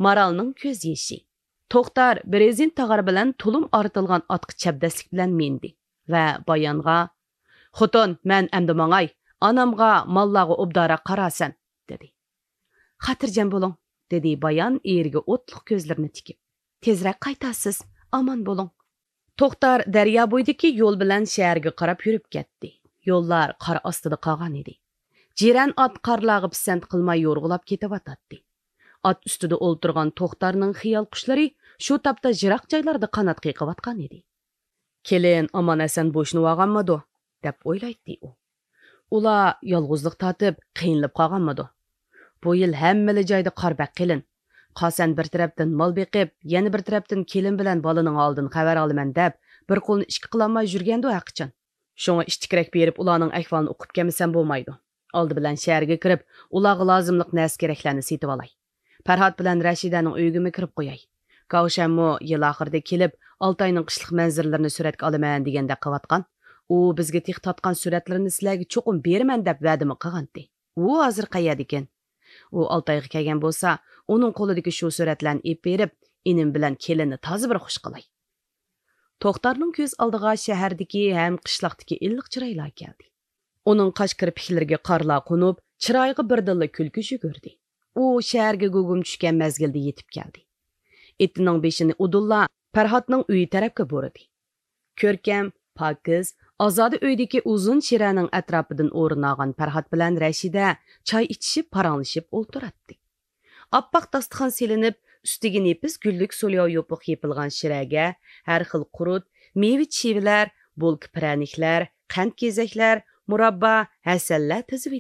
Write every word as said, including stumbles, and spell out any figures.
مارالنىڭ كۆز يېشى. توختار بىر رېزىن تاغار بىلەن تۇلۇم ئارتىلغان ئاتقا چەبدەسلىك بىلەن مىندى ۋە بايانغا، «خوتۇن، مەن ئەمدى ماڭاي، ئانامغا، ماللارغا ئوبدانراق قارارسەن» دېدى. «خاتىرجەم بولۇڭ» دېدى بايان ئېرىگە ئوتلۇق كۆزلىرىنى تىكىپ. «تېزرەك قايتارسىز، ئامان بولۇڭ.» توختار دەريا بويىدىكى يول بىلەن شەھەرگە قاراپ يۈرۈپ كەتتى. يوللار قار ئاستىدا قالغان ئىدى. جىرەن ئات قارلارغا پىسەنت قىلماي يورغىلاپ كېتىۋاتاتتى. ئات ئۈستىدە ئولتۇرغان توختارنىڭ خىيال قۇشلىرى شۇ تاپتا يىراق جايلاردا قانات قېقىۋاتقان ئىدى. «كېلىن ئامان-ئەسەن بوشىنىۋالغانمىدۇ؟» دەپ ئويلايتتى ئۇ. «ئۇلار يالغۇزلۇق تارتىپ، قىينىلىپ قالغانمىدۇ؟ بۇ يىل ھەممىلا جايدا قار بەك قېلىن. قاسەن بىر تەرەپتىن مال بېقىپ، يەنە بىر تەرەپتىن كېلىن بىلەن بالىنىڭ ھالىدىن خەۋەر ئالىمەن دەپ، بىر قولنى ئىككى قىلالماي يۈرگەندۇ ھەرقاچان. شۇڭا ئىتتىكرەك بېرىپ، ئۇلارنىڭ ئەھۋالىنى ئۇقۇپ كەلمىسەم بولمايدۇ. ئالدى بىلەن شەھەرگە كىرىپ، ئۇلارغا لازىملىق نەرسە-كېرەكلەرنى سېتىۋالاي. پەرھات بىلەن رەشىدەنىڭ ئۆيىگىمۇ كىرىپ قوياي. كاۋشەنمۇ يىل ئاخىرىدا كېلىپ، ئالتاينىڭ قىشلىق مەنزىرىلىرىنى سۈرەتكە ئالىمەن دېگەندەك قىلىۋاتقان. ئۇ بىزگە تېخى تارتقان سۈرەتلىرىنى سىلەرگە چوقۇم بېرىمەن دەپ ۋەدىمۇ قىلغانتى. ئۇ ھازىر قەيەردىكىن؟ ئۇ ئالتايغا كەلگەن بولسا، ئۇنىڭ قولىدىكى شۇ سۈرەتلەرنى ئېلىپ بېرىپ، ئىنىم بىلەن كېلىننى تازا بىر خۇش قىلاي.» توختارنىڭ كۆز ئالدىغا شەھەردىكى ھەم قىشلاقتىكى ئىللىق چىرايلار كەلدى. ئۇنىڭ قاش كىرپىكلىرىگە قارلار قونۇپ، چىرايىغا بىردىنلا كۈلكە يۈگۈردى. ئۇ شەھەرگە گۇگۇم چۈشكەن مەزگىلدە يېتىپ كەلدى. ئېتىنىڭ بېشىنى ئۇدۇللا پەرھاتنىڭ ئۆيى تەرەپكە بۇرىدى. كۆركەم، پاكىز، ئازادە ئۆيدىكى ئۇزۇن چىرەنىڭ ئەتراپىدىن ئورۇن ئالغان پەرھات بىلەن رەشىدە چاي ئىچىشىپ، پاراڭلىشىپ ئولتۇراتتى. ئاپئاق داستىخان سېلىنىپ، ئۈستىگە نېپىز گۈللۈك سولياۋ يوپۇق يېپىلغان شىرەگە ھەر خىل قۇرۇت، مېۋە-چىۋىلەر، بولكا پىرەنىكلەر، قەنت-گېزەكلەر، مۇراببا، ھەسەللەر تىزىۋېتىلگەن.